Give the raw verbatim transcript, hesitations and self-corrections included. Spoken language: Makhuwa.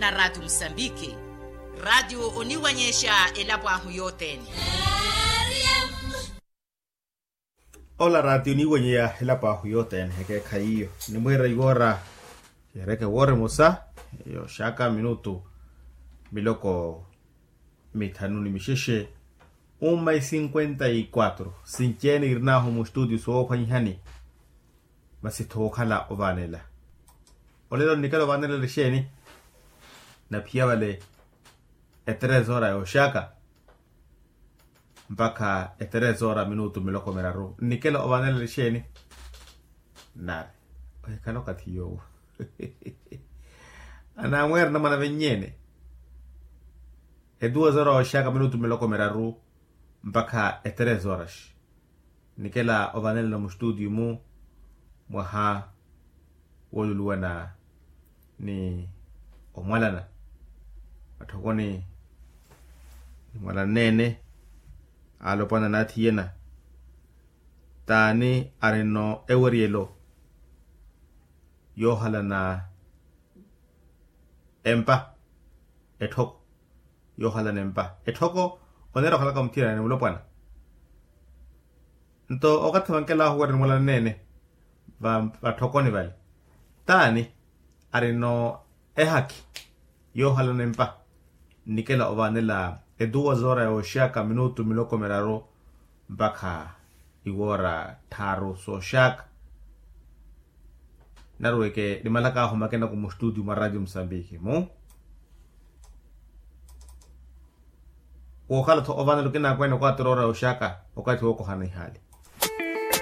Na ratio musambiki, ratio oniwanyexa elapo ahu yothene. Ola ratio oniwanyeya elapo ahu yothene ekeekhayi iyo. Nimwiira iwoora yeereke woora emosa, yooxaka minutu miloko mithanu ni mixexe. Uma i cinquenta y quatro sinci-ene irinahu mustutio soophwanyihani. Masi thookhala ovaanela. Olelo nnikela ovaanela lixeeni? Naphiya vale eteresora yooxaka mpakha eteresora minutu miloko miraru nnikela ovaanela lixeeni? Nari ohikhala okathi yoowo. Anamweera namana vennyene. Etuwa zora oxaka minutu miloko miraru mpakha eteres horas. Nikela ovanelana mustudio mu mwaha woluluwana ni omwalana matthokoni ni mwalana nene alopwana nathiyena. Tani arino eweriyelo yohalana empa etthoko yohalana empa etthoko onera okhalaka omutthirani mulopwana. Nto okathi vankelahu weri nimwalana nene vatthokoni vale tani arino ehakhi yohalana empa nnikela ovanela etuwa zora yoxaka minutu miloko miraru mpakha iwora tthaaru soxaka. Naruweke nimalaka ahu makenaku mustudio mwa radio musambiki mu wokhala-tho ovanela okinakweene okwatirora yoxaka okathi wokohana ihali.